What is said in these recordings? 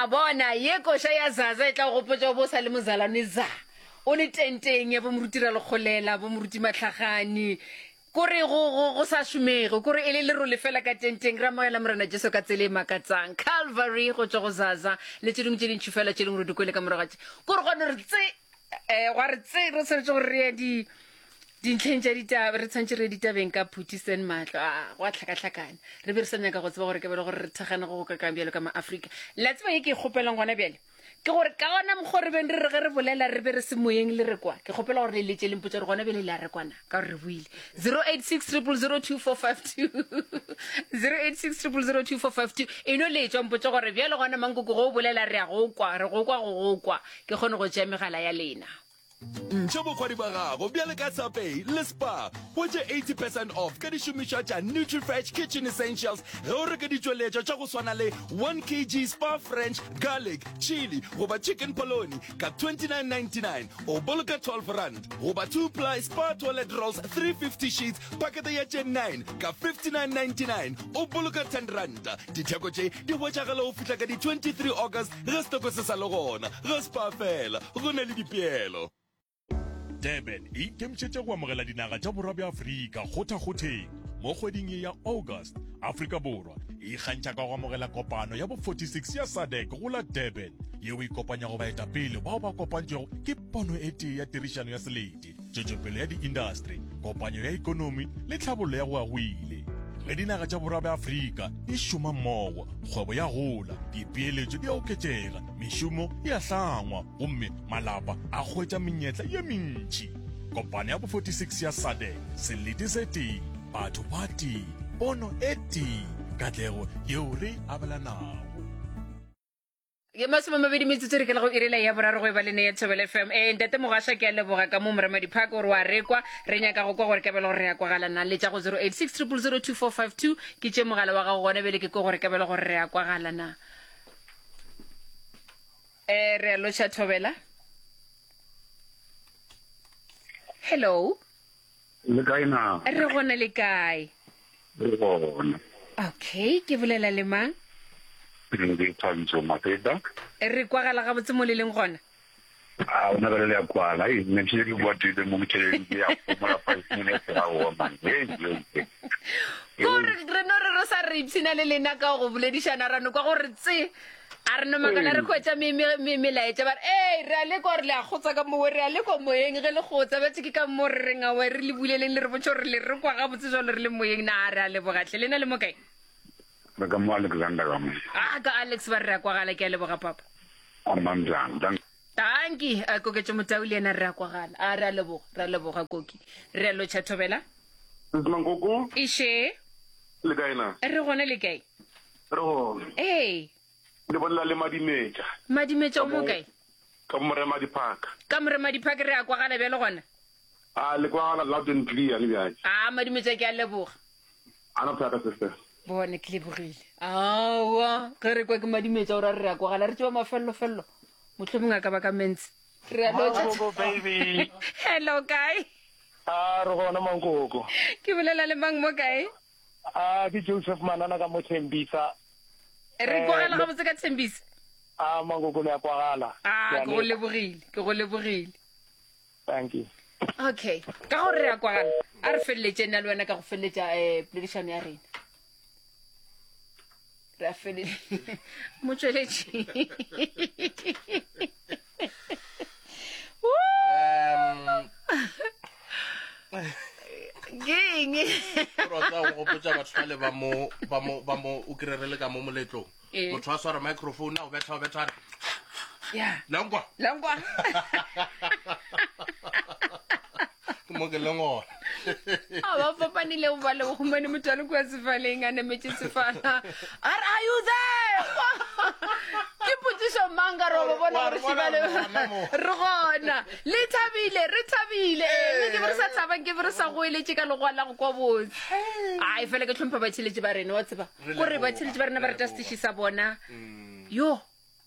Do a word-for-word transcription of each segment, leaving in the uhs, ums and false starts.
A bona ye koša ya Zaza e tla go gopotša o bo sa le mozalwane za. O le tenteng ya bo moruti Ralekgolela, bo moruti Mahlagane. Kore go, go, go sa šomege, kore e le lerole fela ka tenteng. Re amogela Morena Jesu ka tsela e makatsang. Calvary go tšwa go Zaza le tše dingwe tše dintši fela tše leng gore di kwele ka morago ga tše. Kore gwa no re tse, eh, gwa re tse, re swanetše gore re ye di, dintlheng tša ditaba, re tshwanetše re ye ditabeng ka Phuti Sen Mahlo. A, gwa hlakahlakana. Re be re sa nyaka go tseba gore ke bele gore re thekgane go go kakang bjalo ka ma-Afrika. Le a tseba ye ke e kgopelang gona bjale? Ke gore ka gona mokgwa re beng re re ge re bolela re be re se moyeng le re kwa. Ke kgopela gore le letše le mpotše gore gona bjale le a re kwana ka gore re buile. zero eight six triple zero two four five two zero eight six triple zero two four five two e no letšwa mpotše gore bjale gona mankoko go o bolela re a go kwa, re go kwa go go kwa. Ke kgone go tšea megala ya lena. Ntšha bokgwadi ba gago bjale ka Sapei le Spar. Hwetša eighty percent off ka dišomišwa tša Nutrifresh Kitchen Essentials ge o reka ditšweletšwa tša go swana le one kg Spar French Garlic, Chili goba Chicken Polony ka twenty-nine ninety-nine, o boloka twelve rand, goba two ply Spar Toilet Rolls three fifty sheets pakete ya tše nine ka fifty-nine ninety-nine, o boloka ten rand. Ditheko tše di hwetšagala go fihla ka di twenty-three August ge setoko se sa le gona. Ga Spar fela go na le dipeelo. Durban e ikemišetše go amogela dinaga tša borwa bja Afrika kgothakgotheng mo kgweding ye ya August. Afrika Borwa e ikgantšha ka go amogela kopano ya bo forty-six ya SADC go la Durban, yeo e kopanyago baetapele bao ba kopantšwego ke pono e tee ya tirišano ya selete, tšwetšopele ya diindastri, kopanyo ya ekonomi le tlhabollo ya go ya go ile. Ge dinaga tša borwa bja Afrika di šoma mmogo, kgwebo ya gola, dipeeletšo di a oketšega, mešomo e a hlangwa gomme malapa a hwetša menyetla ye mentši. Kopano ya bo forty-six ya SADC, selete se tee, batho ba tee, pono e tee, katlego yeo re e abelanago. Ke masome a mabedi metsotso re ke le go irela ya boraro go e ba le ne ya Thobela F M. Eh, ntate Mogasha ke a leboga ka mo Moremadi Park gore wa rekwa. Re nyaka go kwa gore ka bele gore re ya kwagala na. Letša go zero eight six triple zero two four five two ke tše mogala wa gago gona bjale ke kwe gore ka bele gore re ya kwagala na. Eh, re a lotšha Thobela. Hello. Le kae na? Re gona le kae? Re gona. Okay, ke bolela le mang? Ke Thabiso Mafeta. Re kwagala gabotse mo le leng gona? A ona bjale le ya kwala. Ei, nne ke ke kwatile mo ke tšhelete ya phomola five minutes ga o man. Hey, hey, hey. Ko re re no re re sa re ipshina le lena ka go boledišana ra no kwa gore tse a re no makala re hwetša me, me, me, melaetša ba re, ei, re a lekwa gore le a kgotsa ka mowe, re a lekwa moyeng ge le kgotsa. Bjale ke ka mo re reng aowa, re le buleleng le re botše gore le re kwa gabotse jalo re le moyeng. Na re a leboga hle. Lena le mo kae? Re ka mo Alexander ka mo. Ah, ka Alex ba re a kwagala, ke a leboga papa. Amandla. Dank. Danki, a Koketšo Motau le yena re a kwagala. A re a leboga, re a leboga Koki. Re a lotšha Thobela. Sisi Mankoko. Iše. Le kae na? Re gona le kae? Re gona. Ee. Le bolela le Madimetša. Madimetša o mo kae? Ka Moremadi Park. Ka Moremadi Park re a kwagala bjale gona? A le kwagala loud and clear le bjale. A Madimetša ke a leboga. Ana thata sister. Bone ke lebogile. Aowa, ge re kwa ke Madimetša o ra re re a kwagala re tšeba mafello-fello. Mohlomongwe a ka ba ka mentsi. Re a lotšha. Mankoko baby. Hello kae? A re gona Mankoko. Ke bolela le mang mo kae? A ke Joseph Manana ka mo Thembisa. Re kwagala gabotse ka Thembisa? A Mankoko le a kwagala. A ke go lebogile, ke go lebogile. Thank you. Okay, ka gore re a kwagala, a re feleletše nna le wena ka go feleletša eh poledišano ya rena. Re a feleletša. Motšweletši. Um, Ke eng? Gore o tla go gopotša batho bale ba mo, ba mo, ba mo, o kry re le ka mo moletlong. Ee. Motho a swara microphone a o betha, o betha a re, Ya. Langwa. Langwa. Ke mo ke leng gona. A ba fapanile go ba le go humane motho a le kua sefaleng a nametše sefala. A re, are you there? Ke potšišo mang ka re wa ba bona Wa gore re bona šibale re gona mo. re gona. Le thabile, re thabile. Mme ke be re sa thabang, ke be re sa goeletše ka legoa la go kwa botse. Ai, fela ke hlompha batheeletši ba rena, wa tseba. Re Kore leboga, batheeletši ba rena ba re rata leboga. setiši sa bona. Mm. Yo.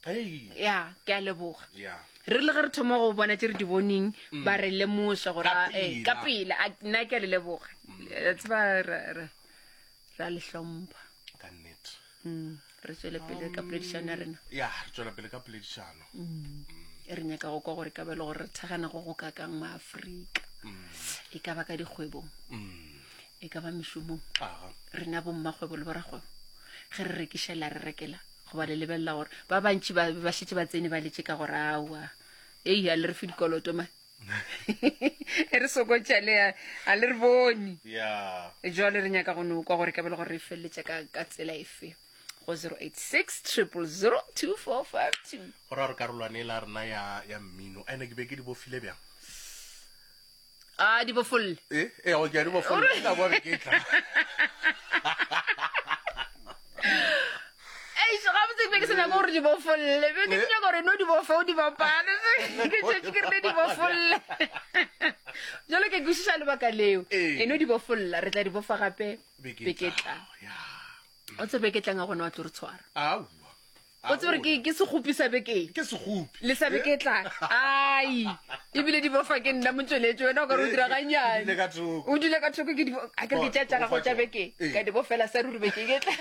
Hei. Ya, ke a leboga. Ya. Re le ge re thoma go bona tše re di boneng, Mm. ba re lemoša gore, Ka a, eh, ka pela. pela. A, nna ke a le leboga. Mm. Le tseba, ra, ra, ra le hlompha. Ka nnete. Mm. Re tswele pele ka poledišano ya rena. Ya, re tswela pele ka poledišano. E re nyaka go kwa gore ka ba le gore re thagana go go kakang maafrika. E ka ba ka dikgwebong, e ka ba mešomong. Aga. Rena bommakgwebo le borakgwebo, ge re rekiša la re rekela, goba le lebelela gore ba bantši ba ba šetše ba tsene ba letse ka gore aowa, ei, a le re fe dikoloto ma. Re sokotša le a- a le re bone. Ya. Jwale re nyaka go no kwa gore ka ba le gore re feleletša ka ka tsela efe go zero eight six triple zero two four five two. Go ra gore karolwane e la rena ya ya mmino ene ke be ke di bofile bjang? A di bofolle. Eh, eh, go ke a di bofolle. Ke tla boa beke e tlang. Eish, gabotse ke be ke sa nyaka gore di bofolle. Be ke nyaka gore no di bofe o di bapale. Ke tšetše ke rile di bofolle. Jalo ke kwešiša lebaka leo. Ee. E no di bofolla, re tla di bofa gape Beke e beke e tlang. tlang. Ya. O tsebe beke e tlang a gona wa tlo re tshwara. Aowa. O tsebe gore ke ke sekgopi sa bekeng. Ke sekgopi. Le sa beke e tlang. Ai, ebile di bofa ke nna motšweletši, wena o ka re o dira gannyane. Ke dule ka thoko. O dule ka thoko ke di bo-, a ke re ke tša tša gago tša bekeng. Ee. Ka di bofela sa ruri bekeng e tlang.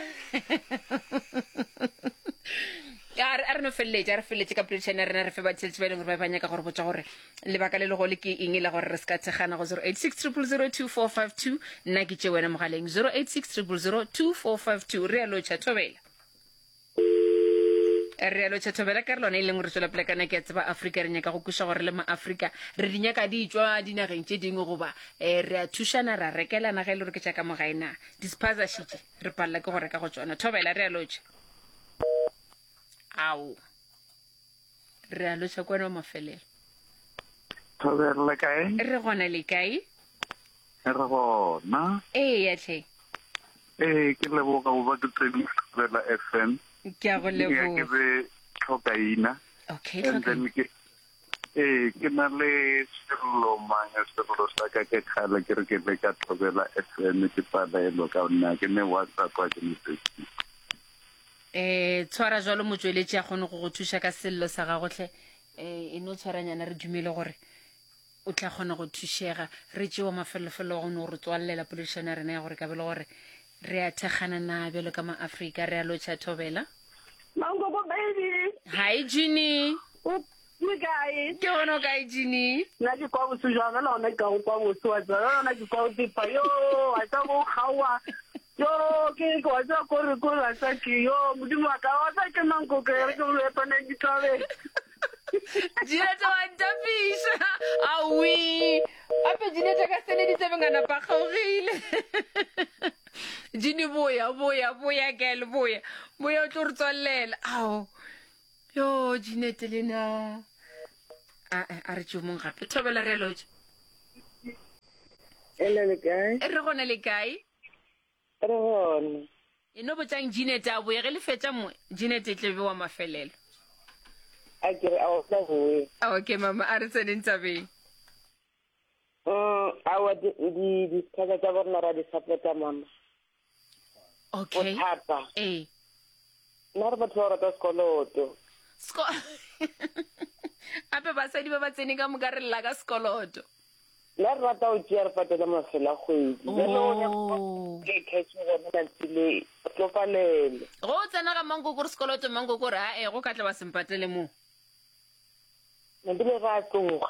A re, a re no feleletše, a re feleletše ka poledišano ya rena, re fe batheletši ba e leng gore ba ba nyaka gore botša gore lebaka le legolo ke eng e la gore re se ka thekgana go zero eight six triple zero two four five two. Nna ke tše wena mogaleng zero eight six triple zero two four five two. Re a lotšha, thobela. Re a lotšha, thobela. Ka re lona e leng gore tswela pele kana ke a tseba Afrika, re nyaka go kweša gore le maAfrika re di nyaka di tšwa dinageng tše dingwe, goba, eh, re a thušana, ra rekelana ge e le gore ke tša ka mo gae na. Di-spaza šitše re palela ke go reka go tšona. Thobela, re a lotšha. Ao, re a lotšha kwana wa mafelelo. Thobela le kae? Re gona le kae? Re gona. Ee, ya tlhe. Ee, ke leboga go ba ke tsene Thobela F M. Ke a go Ke ya ke leboga. be tlhokaina. Okay, And then tlhokaina. ke, ee, ke na le sello mang, sello sa ka ke kgale ke re ke le ka Thobela F M, ke palelwa ka nna, ke ne WhatsApp, ha ke ne Facebook. Eh, tshwara jwalo motsweletši a kgone go go thuša ka sello sa gago hle. Eh, e no tshwaranyana, re dumele gore o tla kgona go thušega. Re tšewa mafelofelo wa go no re tswallela poledišano ya rena ya gore ka bele gore re a thekgana na bjalo ka maAfrika. Re a lotšha, thobela. Mankoko baby. Hi, Ginny. O le kae? Ke gona o kae, Ginny? Nna ke kwa bose jwang, jwale gona ke ka go kwa bose wa tseba, jwale gona ke kwa go tepa. Yo, wa tseba bo kgaowa. Yo, ke, ke wa tseba kore, kore, wa tseba ke, yo, Modimo wa ka, wa tseba ke Mankoko, e re ke mo epana ditlabeng. Jeanette wa ntapiša. Aowi. Gape Jeanette ka sene ditsebeng a napa a kgaogile. Ginny, boya, boya, boya, girl, boya. Boya o tlo re tswallela. Ao. Yo, Jeanette le na. A, a, a re tšeo mong gape. Thobela, re a lotšha. Ele le kae? Re gona le kae? Re gona. E no botšang Jeanette a boye, ge le fetša mo, Jeanette e tle be wa mafelelo. A ke re, a o tla boe. Okay, mama, a re tseneng tabeng. Mm, aowa, di, di, di-spaza tša bo rena ra di support-a, mama. Okay. Bothata. Ee. Nna re batho ba rata sekoloto. Sko- Gape basadi ba ba tsene ka moka re lla ka sekoloto. Nna re rata go tšea re patela mafelo a kgwedi. Jwale o nyaka Oh. ke cash gona letsatsi le, o tlo palelwa. Go o tsena ga mankoko re sekoloto, mankoko re ae, go ka tla ba se mpatele moo. Napile re a tloga.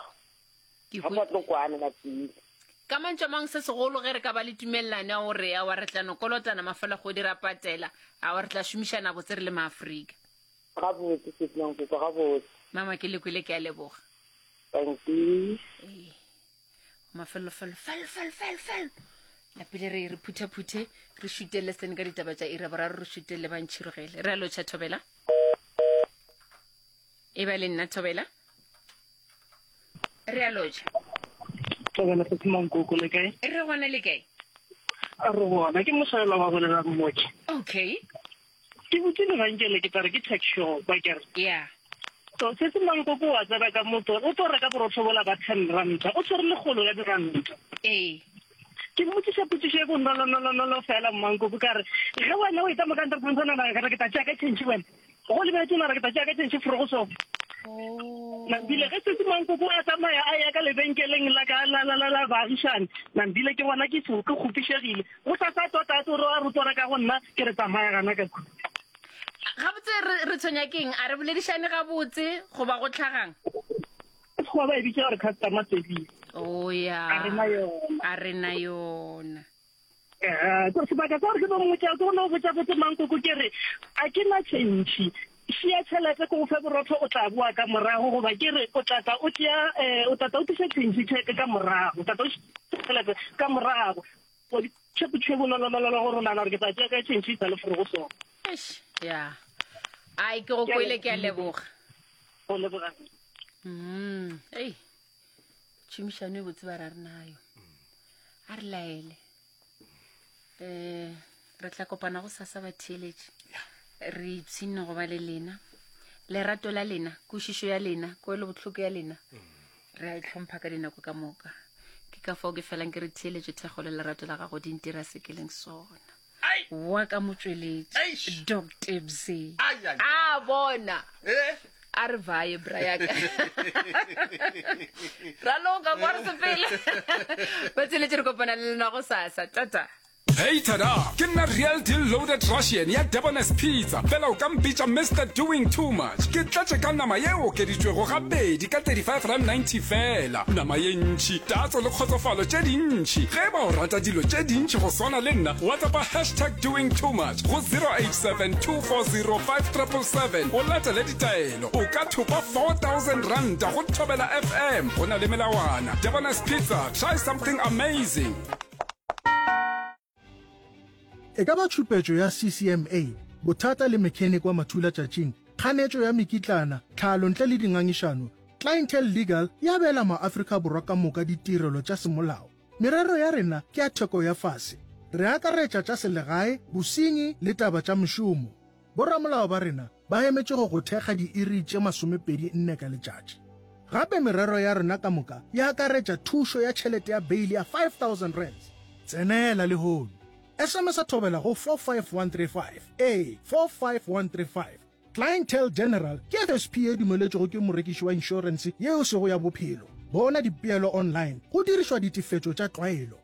Ke Ga hwe- sa tlo kwana napile. Ka mantšu a mang se segolo ge re ka ba le tumelelano ya gore aowa re tla no kolotana mafelo a kgwedi ra patela, aowa re tla šomišana botse re le maAfrika. Gabotse, sis Mankoko, gabotse. Mama, ke le kwele, ke a leboga. Thank you. Ee. Mafelofelo, fel, fel, fel, fel. Lapile re re phuthaphuthe, re šutelle sene ka ditaba tša iri ya boraro, re šutelle ba ntšhirogele. Re a lotšha, thobela. E ba le nna, thobela. Re a lotšha. Thobela, sis Mankoko, le kae? Re gona le kae? A re gona, ke mošaela wa bolela mmoki. Okay. Ke butse lebenkele, ke tla re ke tuck shop, a ke re. Yeah. So, se se Mankoko wa tsena ka motho, o tlo reka borotho bola ba ten ranta, o tshwere lekgolo la diranta. Ee. Ke mmotšiša potšišo e bonolonolonololo fela, Mankoko, ka re, ge wena o etla mo kantorong, o nagana ka re ke tla tšea ka change wena. Go lebetse o nagana ke tla tšea ka change forogo so. Oh. Nambile ge setse Mankoko a tsamaya a ya ka lebenkeleng la ka la la la la baagišane, Nambile ke bona ke ke kgopišegile. Go sa sa tota a tlo re a rotwa reka go nna, ke re tsamaya gana ka kua. re tshwenya keng a re boledišane gabotse goba go tlhagang Sekgowa ba e bitša gore customer service. o ya A re na yona. a re na yona Eh, ko sebaka sa gore ke bo mmotša ke gone go botša botse mankoko ke re a ke na tšhentšhi šia tšhelete ko go fe borotho o tla boa ka morago goba ke re o tla tla o tšea um o tla tla o tliša tšhentšhi tšhelete ka morago o tla tla o tšhelete ka morago tšhepo nolonololo gore o nagana gore ke tla tšea ka tšhentšhi sa le forogo sona Eish, ya ai ke go kwele ke a leboga go leboga mm ei tšhomišano e botse ba ra re nayo a re laele um re tla kopana go sasa batheeletše re ipshinne go ba le lena lerato la lena kwešišo ya lena kwelo bohloko ya lena re a itlhompha ka dinako ka moka ke ka fao ke felang ke re theeletše thekgo le lerato la gago di ntira se ke leng sona wa ka motsweletši Doctor Bze a bona Eh? a re vaye brayaka raloka kwa re sepele ba tseletše re kopana le lena go sasa tata Hey tada! Ke nna Real Deal Loaded Russian ya Debonair's Pizza. Fela o ka mpitša Mr Doing Too Much. Ke tlatše ka nama ye okeditšwego gabedi ka thirty-five rand ninety fela. Nama ye ntši, tatso le kgotsofalo tše dintši. Ge e ba o rata dilo tše dintši go swana le nna, WhatsAppa hashtag doing too much go zero eight seven two four zero five triple seven o latele ditaelo. O ka thopa four thousand ranta go Thobela F M. Go na le melawana. Debonair's Pizza, try something amazing. E ka ba tšhupetšo ya C C M A, bothata le mechanic wa mathula tšatšing, kganetšo ya mekitlana, tlhalo ntle le dingangišano, Clientele Legal ya beela maAfrika Borwa ka moka ditirelo tša semolao. Merero ya rena ke ya theko ya fase. Re akaretša tša selegae, bosenyi le taba tša mešomo. Boramolao ba rena ba emetše go go thekga diiri tše masomepedi nne ka letšatši. Gape merero ya rena ka moka e akaretša thušo ya tšhelete ya bail ya five thousand rands. Tsenela lehono. S M S a thobela go four five one three five. Ee, four five one three five. Clientele General ke F S P e dumeletšwego ke morekiši wa inšorense yeo sego ya bophelo. Bona dipeelo online go dirišwa ditefetšo tša tlwaelo.